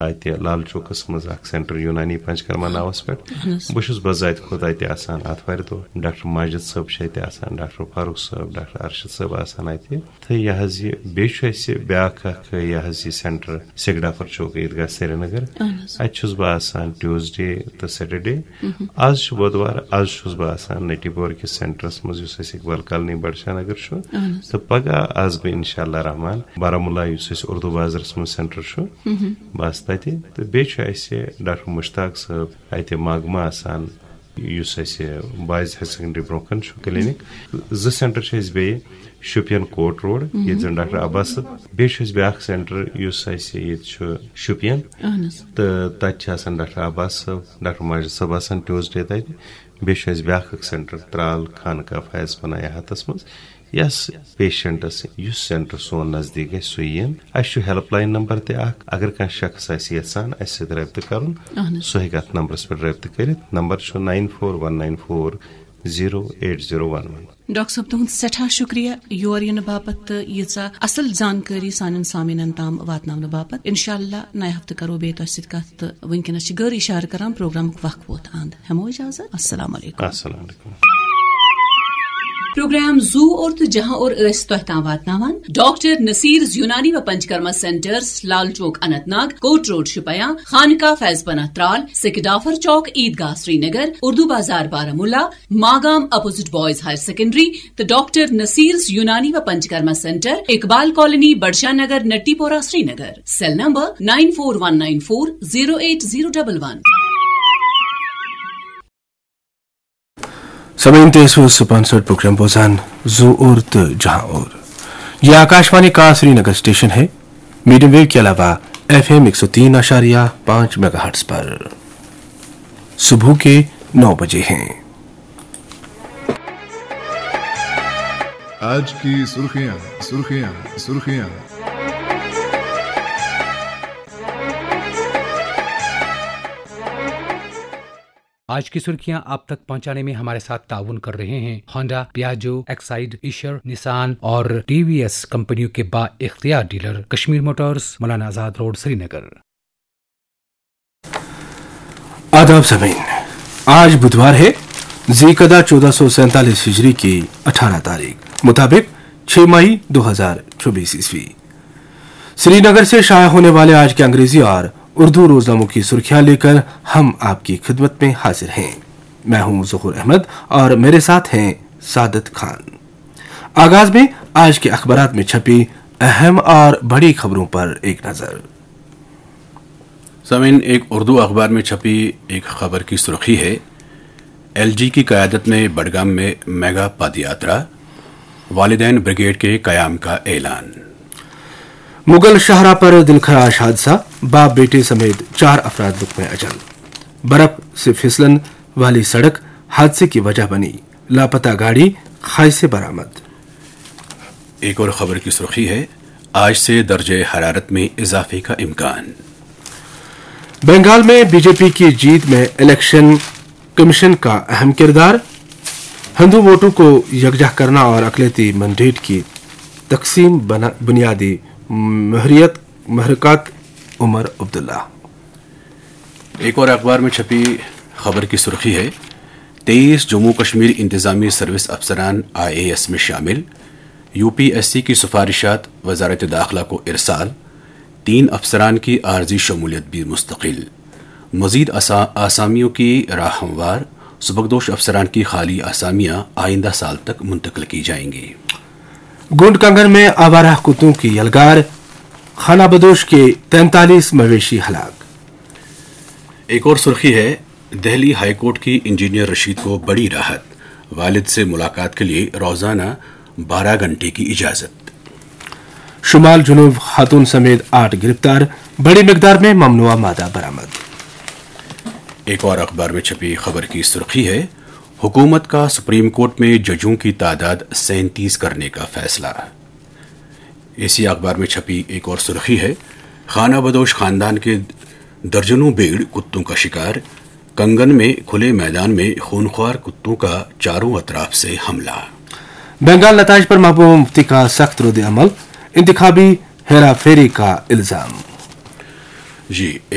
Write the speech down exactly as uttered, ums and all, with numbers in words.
اتہِ لال چوکس منٛز اکھ سینٹر یونانی پنچکرما ناوس پٮ۪ٹھ۔ بہٕ چھُس بذات خود اتہِ آسان آتھوارِ دۄہ۔ ڈاکٹر ماجد صٲب چھِ اتہِ آسان، ڈاکٹر فاروق صٲب، ڈاکٹر ارشد صٲب آسان اتہِ۔ تہٕ یہِ حظ یہِ، بیٚیہِ چھُ اَسہِ بیٛاکھ اَکھ، یہِ حظ یہِ سینٹر سِگڈافر چوک عیٖدگاہ سرینگر۔ اَہَن حظ۔ اَتہِ چھُس بہٕ آسان ٹیوزڈے تہٕ سیٹرڈے۔ آز چھُ بۄدوار، آز چھُس بہٕ آسان نٹی پور کِس سینٹرس منٛز، یُس اَسہِ اقبال کالنی بڈشاہ نگر چھُ۔ اَہَن حظ۔ تہٕ پگاہ آسہٕ بہٕ انشاءاللہ رحمان بارہمولہ، یُس اَسہِ اردو بازرس منٛز سینٹر چھُ۔ بہٕ آسہٕ تَتہِ۔ تہٕ بیٚیہِ چھُ اَسہِ ڈاکٹر مشتاق صٲب اتہِ ماگمہٕ آسان، یُس اَسہِ بوائز ہایر سیکنڈری برونٛہہ کَنہِ چھُ کلینک۔ زٕ سینٹر چھِ اَسہِ بیٚیہِ، شُپین کوٹ روڈ، ییٚتہِ زَن ڈاکٹر عباس صٲب، بیٚیہِ چھُ اَسہِ بیٛاکھ سینٹر یُس اَسہِ ییٚتہِ چھُ شُپین، اَہَن حظ۔ تہٕ تَتہِ چھِ آسان ڈاکٹر عباس صٲب، ڈاکٹر ماجد صٲب آسان ٹیوزڈے تَتہِ۔ بیٚیہِ چھُ اَسہِ بیٛاکھ اَکھ سینٹر ترال خانقاہ فیض پناہ یہاتَس منٛز۔ یس پیشنٹس یُس سینٹر سون نزدیٖک گژھِ، سُہ یِن۔ اَسہِ چھُ ہیلپ لاین نمبر تہِ اکھ، اگر کانٛہہ شخص آسہِ یژھان اَسہِ سۭتۍ رٲبطہٕ کرُن، اہن حظ۔ سُہ ہیٚکہِ اتھ نمبرس پٮ۪ٹھ رٲبطہٕ کٔرِتھ۔ نمبر چھُ nine four one nine four zero eight zero one one۔ Doctor صٲب، تُہُنٛد سٮ۪ٹھاہ شُکریہ یور یِنہٕ باپتھ تہٕ ییٖژاہ اصل زانکٲری سانٮ۪ن سامعیٖنن تام واتناونہٕ باپتھ۔ انشاءاللہ نَیہِ ہفتہٕ کرو بیٚیہِ تۄہہِ سۭتۍ کتھ تہٕ وٕنکیٚنس چھِ گٔر اشارٕ کران پروگرامُک وقت ووت اند۔ ہٮ۪مو اجازت۔ السلام علیکم۔ السلام علیکم۔ پروگرام زو اور تہٕ جہاں اور ٲسۍ تۄہہِ تام واتناوان ڈاکٹر نصیرز یونانی و Panchakarma centres, Lal Chowk, Anantnag, court road, Shopian, Khanqah Faiz Panah Tral, Sekidafar Chowk, Idgah, Srinagar, Urdu Bazar, Baramulla, Magam, opposite boys higher secondary, تہٕ ڈاکٹر نصیرز یونانی و Panchakarma centre, Iqbal colony, Budshah Nagar, Natipora, Srinagar. Cell number nine four one nine four zero eight zero double one۔ سامعین، تُہۍ ٲسِو سپانسرڈ پروگرام بوزان زو اور تہٕ جہاں اور۔ یہ آکاشوانی کا سری نگر اسٹیشن ہے۔ میڈیم ویو کے علاوہ ایف ایم ایک سو تین اشاریہ پانچ میگا ہرٹز پر۔ صبح کے نو بجے ہیں۔ آج کی سرخیاں، سرخیاں، سرخیاں۔ آج کی سرخیاں آپ تک پہنچانے میں ہمارے ساتھ تعاون کر رہے ہیں ہونڈا، پیاجو، ایکسائیڈ، ایشر، نسان اور ٹی وی ایس کمپنیوں کے با اختیار dealer Kashmir Motors, Maulana Azad road, سری نگر۔ آداب سامعین، آج بدھوار ہے، ذی قعدہ چودہ سو سینتالیس ہجری کی اٹھارہ تاریخ، مطابق چھ مئی دو ہزار چوبیس عیسوی۔ سری نگر سے شائع ہونے والے آج کے انگریزی اور اردو روزناموں کی سرخیاں لے کر ہم آپ کی خدمت میں حاضر ہیں۔ میں ہوں ظہور احمد اور میرے ساتھ ہیں سعادت خان۔ آغاز میں آج کے اخبارات میں چھپی اہم اور بڑی خبروں پر ایک نظر۔ سامعین، ایک اردو اخبار میں چھپی ایک خبر کی سرخی ہے، ایل جی کی قیادت میں بڑگام میں میگا پد یاترا، والدین بریگیڈ کے قیام کا اعلان۔ مغل شاہراہ پر دلخراش حادثہ، باپ بیٹے سمیت چار افراد لقمہ اجل۔ برف سے پھسلن والی سڑک حادثے کی وجہ بنی، لاپتہ گاڑی کھائی سے برآمد۔ ایک اور خبر کی سرخی ہے، آج سے درجہ حرارت میں اضافے کا امکان۔ بنگال میں بی جے پی کی جیت میں الیکشن کمیشن کا اہم کردار، ہندو ووٹوں کو یکجا کرنا اور اقلیتی مینڈیٹ کی تقسیم بنا-، بنیادی محریت، محرکات عمر عبداللہ۔ ایک اور اخبار میں چھپی خبر کی سرخی ہے، تیئیس جموں کشمیر انتظامی سروس افسران آئی اے ایس میں شامل، یو پی ایس سی کی سفارشات وزارت داخلہ کو ارسال، تین افسران کی عارضی شمولیت بھی مستقل، مزید آسا-، آسامیوں کی راہ ہموار، سبکدوش افسران کی خالی آسامیاں آئندہ سال تک منتقل کی جائیں گی۔ گونڈ کنگن میں آوارہ کتوں کی یلغار، خانہ بدوش کے تینتالیس مویشی ہلاک۔ ایک اور سرخی ہے، دہلی ہائی کورٹ کی انجینئر رشید کو بڑی راحت، والد سے ملاقات کے لیے روزانہ بارہ گھنٹے کی اجازت۔ شمال جنوب خاتون سمیت آٹھ گرفتار، بڑی مقدار میں ممنوعہ مادہ برآمد۔ ایک اور اخبار میں چھپی خبر کی سرخی ہے، حکومت کا سپریم کورٹ میں ججوں کی تعداد سینتیس کرنے کا فیصلہ۔ اسی اخبار میں چھپی ایک اور سرخی ہے، خانہ بدوش خاندان کے درجنوں بھیڑ کتوں کا شکار، کنگن میں کھلے میدان میں خونخوار کتوں کا چاروں اطراف سے حملہ۔ بنگال نتائج پر محبوبہ مفتی کا سخت رد عمل، انتخابی ہیرا پھیری کا الزام۔ جی،